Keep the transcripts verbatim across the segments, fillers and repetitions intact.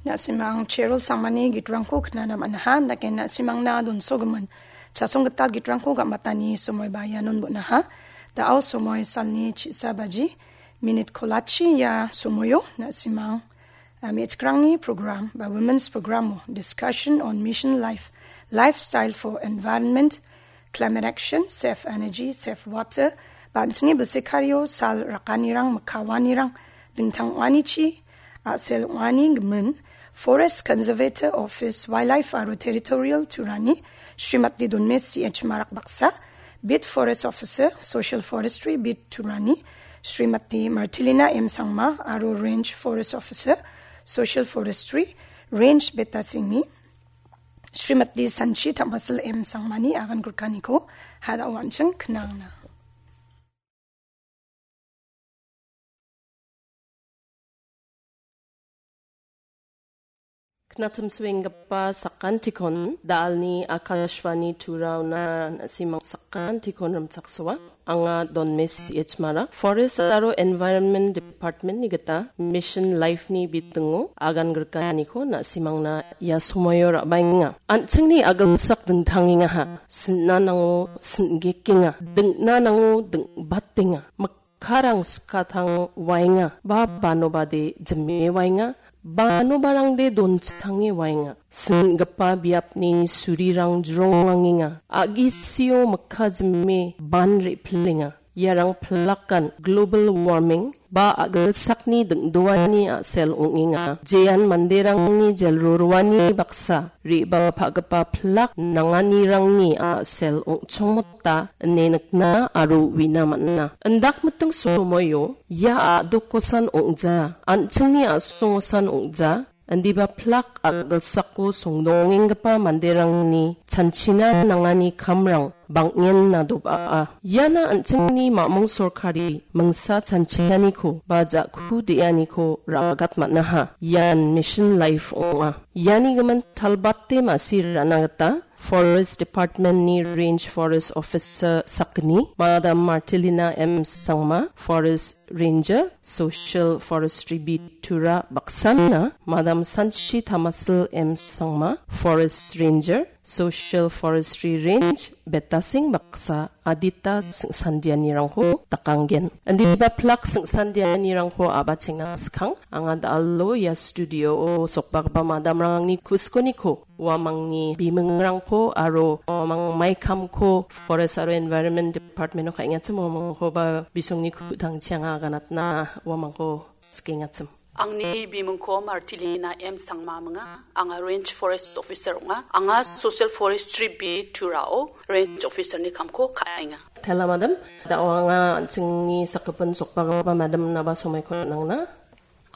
Na·simang Cheryl Sangmani gitrangko knana man·aha, indake na·simangna donsogimin chasong gital gitrangko gam·atani somoiba ianon bon·aha. Da·o somoi salni chisa baji, minit kolachi ia somoio na·simang, ah, me·chikrangni program ba women's programo, Discussion on Mission Life, Lifestyle for Environment, Climate Action, Save Energy, Save Water, ba an·chingni bilsekario sal rakanirang, mikkawanirang, dingtang ong·anichi, a·sel ong·ani gimin, Forest Conservator Office, Wildlife aro Territorial Turani, Srimati Donme C H Marak baksa, Beat Forest Officer, Social Forestry Beat Turani, Srimati Martilina M Sangma, aro Range Forest Officer, Social Forestry, Range Betasingni, Srimati Sanchi Tamasil M Sangmani agan gurkaniko hada·o an·ching knangna. Knatim suenggipa sakantikon, da·alni Akashvani Turaona na·simang sakantikon rimchaksoa. Anga Donme C H Mara, Forest aro Environment Department-ni gita Mission Life-ni bitingo agan grikaniko na·simangna ia somoio ra·baenga. An·chingni agilsak dingtangengaha, sin·anango sin·gekenga, ding·nanango ding·batenga. Mikkarang skatang waenga, ba banobade jime waenga, banobarangde donchange waenga. Sin·gipa biapni surirang jrongangenga. A·gisio mikka jime ban re·pilenga. Iarang pilakan global warming ba a·gilsakni dingdoani a·sel ong·enga. Jean manderangni jelroroani baksa re·baa pa·gipa pilak nanganirangni a·sel ong·chongmota ine nikna aro uina man·a. Indak miting somoio ia a·dokosan ong·ja, an·chingni a·songosan ong·ja, indiba pilak a·gilsako songdongenggipa manderangni chanchina nangani kamrang bang·en nadoba·a. Iana an·chingni mamung sorkari mingsa chanchianiko ba ja·ku de·aniko ra·gat man·aha. Ian Mission Life ong·a. Iani gimin talbate ma·sirana gita Forest Department-ni Range Forest Officer sakgni, Madam Martilina M Sangma, Forest Ranger, Social Forestry Beat Tura baksana, Madam Sanchi Tamasil M Sangma, Forest Ranger, Social Forestry Range, Betasing baksa adita sing-, sandianirangko dakanggen. Indiba pilak sing-, sandianirangko a·bachengna skang, anga da·alo ia studio-o sokbagipa madamrangni kuskoniko uamangni bimingrangko aro uamang maikamko Forest aro Environment Department-o ka·engachim uamangkoba bisongni ku·tangchi anga aganatna uamangko skengachim. Angni bimingko Martilina M Sangma minga. Anga Range Forest Officer ong·a. Anga Social Forestry Beat Turao Range Officer-ni kamko ka·enga. Tela madam, da·o anga an·chingni sakgipin sokbagipa madam-naba somoiko nangna.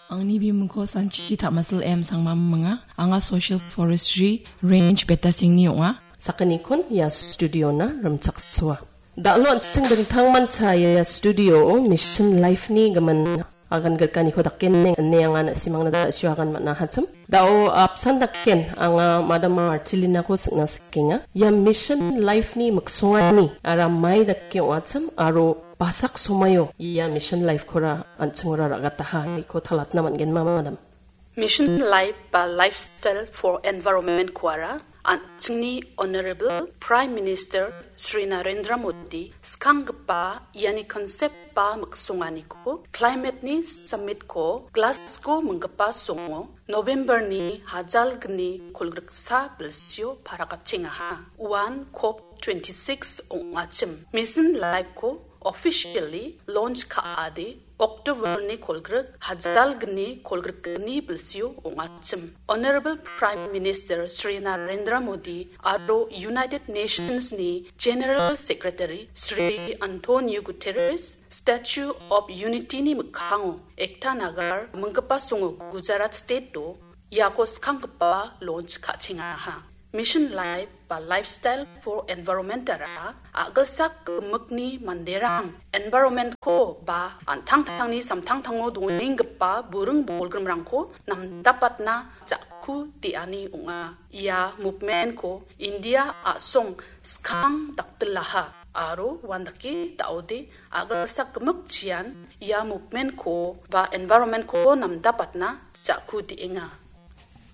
Angni bimingko Sanchi Tamasil M Sangma minga. Anga Social Forestry Range Betasingni ong·a. Sakgnikon ia studio-na rimchaksoa. Da·alo an·ching dingtangmancha ia studio-o Mission Life-ni gimin agan grikaniko dakgen ine anga na·simangna da·sio agan man·ahachim. Da·o apsan dakgen anga Madam Martilinako sing·na sikenga. Ia Mission Life-ni miksongani aramai dake ong·achim aro basak somoio ia Mission Life-kora an·chingora ra·gataha iko talatna man·genma, madam? Mission Life ba Lifestyle for Environment-koara an·chingni Honorable Prime Minister Shri Narendra Modi skanggipa iani concept ba miksonganiko Climate-ni Summit-ko Glasgow minggipa songo November-ni hajalgni kolgriksa bilsio parakatchengaha. Uan COP twenty-six ong·achim. Mission Life-ko officially launch ka·ade October-ni kolgrik, hajalgni kolgrikgni bilsio ong·achim. Honorable Prime Minister Shri Narendra Modi aro United Nations-ni General Secretary Shri Antonio Guterres Statue of Unity-ni mikkango Ekta Nagar minggipa songo Gujarat State-o iako skanggipa launch ka·chengaha. Mission Life ba Lifestyle for Environment-ara a·gilsak gimikni manderang environment-ko ba an·tangtangni samtangtango dongenggipa buring bolgrimrangko namdapatna ja·ku de·ani ong·a. Ia movement-ko India a·song skang dakdilaha aro uandake da·ode a·gilsak gimik chian ia movement-ko ba environment-ko namdapatna ja·ku de·enga.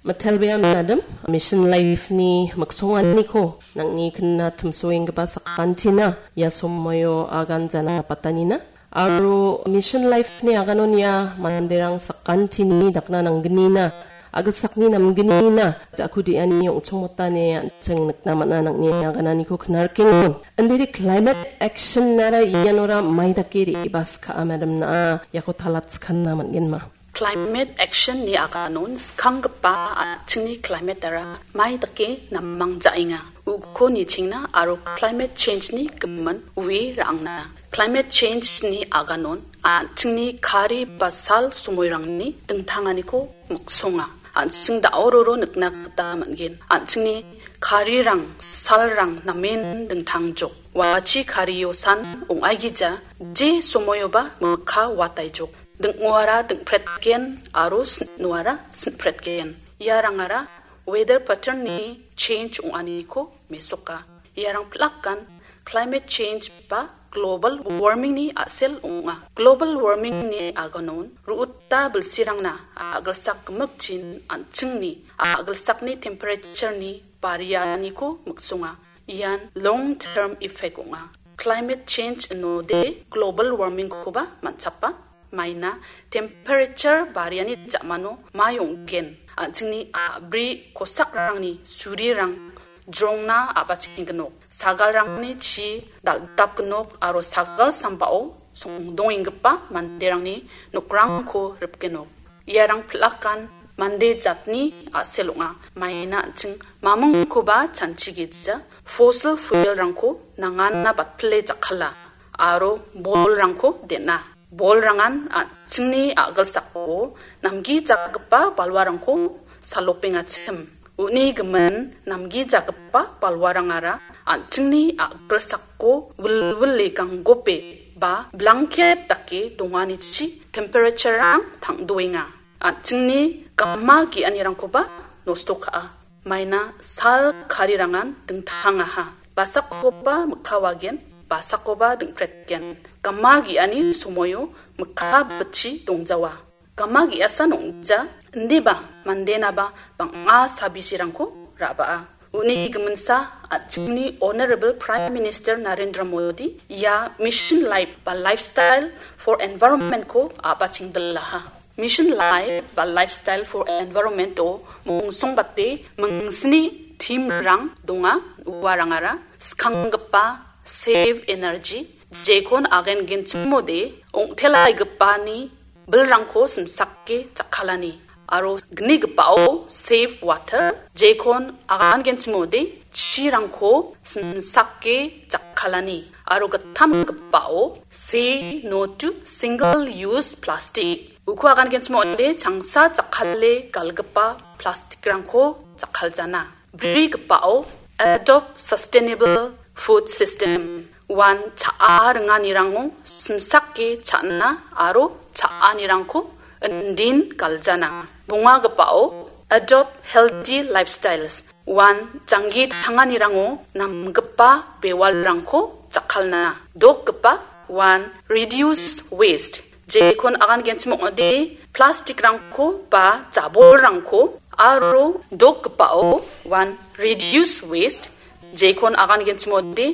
Mitelbea madam, Mission Life-ni miksonganiko nang·ni kna timsoenggipa sakantina ia somoio agan jana patanina. Aro Mission Life-ni aganon ia manderang sakantini dakna nanggnina, agilsakni namgnina, jako de·ani ong·chongmotane an·ching nikna man·a nang·ni agananiko knarkengon. Indiri climate action-ara ianora mai dake re·bas ka·a madam na·a, iako talatskana man·genma. Climate action-ni aganon skanggipa an·chingni climate-ara mai dake namang ja·enga. Uko nichingna aro climate change-ni gimin ue ra·angna. Climate change-ni aganon an·chingni kari ba sal somoirangni dingtanganiko miksonga. An·ching da·ororo nikna gita man·gen. An·chingni karirang, salrang namen dingtangjok. Wachi kario san ong·aigija, je somoioba mikka wataijok. Ding·oara dingpretgen aro sin·oara sinpretgen. Iarangara weather pattern-ni change ong·aniko mesoka. Iarang plakan climate change ba global warming-ni a·sel ong·a. Global warming-ni aganon ru·uta bilsirangna a·gilsak gimikchin an·chingni a·gilsakni temperature-ni barianiko miksonga. Ian long term effect ong·a. Climate change inode global warming-koba man·chapa. Maina temperature bariani ja·mano mai ong·gen. An·chingni a·bri kosakrangni surirang jrongna a·bachenggnok. Sagalrangni chi dal·dapgnok aro sagal sambao songdongenggipa manderangni nokrangko ripgenok. Iarang plakan mande jatni a·sel ong·a. Maina an·ching mamingkoba chanchigija fossil fuel-rangko nangana batpile jakkala aro bolrangko den·a. Bolrangan an·chingni a·gilsako namgijagipa balwarangko salopengachim. Uni gimin namgijagipa balwarangara an·chingni a·gilsako wilwile ganggope ba blanket dake donganichi temperature-rang tangdoenga. An·chingni gama ge·anirangkoba nosto ka·a. Maina sal karirangan dingtangaha. Basakoba mikka wagen, basakoba dingpretgen. Gama ge·ani somoio mikka bitchi dongjawa. Gama ge·asa nong·ja, indiba mandenaba bang·a sabisirangko ra·baa. Uni giminsa an·chingni Honorable Prime Minister Narendra Modi ia Mission Life ba Lifestyle for Environment-ko a·bachengdilaha. Mission Life ba Lifestyle for Environment-o mongsongbate mingsni theme-rang donga, uarangara skanggipa Save Energy, jekon agengenchimode ong·telaigipani bilrangko simsake jakkalani. Aro gnigipao Save Water, jekon agangenchimode chirangko simsake jakkalani. Aro gittamgipao Say No to Single Use Plastic. Uko agangenchimode changsa jakkale galgipa plastikrangko jakkaljana. Brigipao Adopt Sustainable Food System. Uan cha·a ringanirango simsake cha·na aro cha·anirangko indin galjana. Bongagipao Adopt Healthy Lifestyles. Uan janggi tanganirango namgipa bewalrangko jakkalna. Dokgipa uan Reduce Waste. Jekon agangenchim ong·ode plastikrangko ba jabolrangko aro dokgipao uan Reduce Waste. Jekon agangenchim ong·ode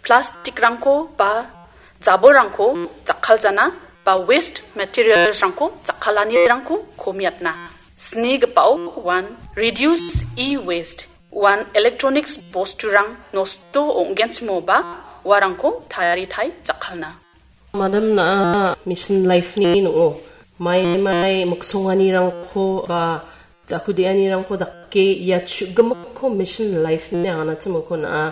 plastikrangko ba jabolrangko jakkaljana ba waste materials-rangko jakkalanirangko komiatna. Snigipao uan Reduce E-Waste. Uan electronics bosturang nosto ong·genchimoba uarangko taritai jakkalna. Madam na Mission Life-ni ning·o mai mai miksonganirangko ba jakudeanirangko dake ia chu·gimikko Mission Life-ni anganachimiko na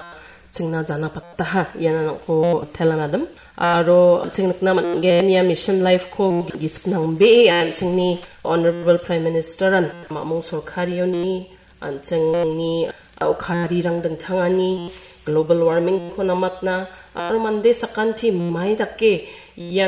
chingna jana pattaha iana nang·ko tela madam. Aro ching nikna man·gen ia Mission Life-ko gisik nangbe an chingni Honorable Prime Minister-an mamung sorkarioni an chingni au karirang dingtangani global warming-ko namatna aro mande sakanti mai dake ia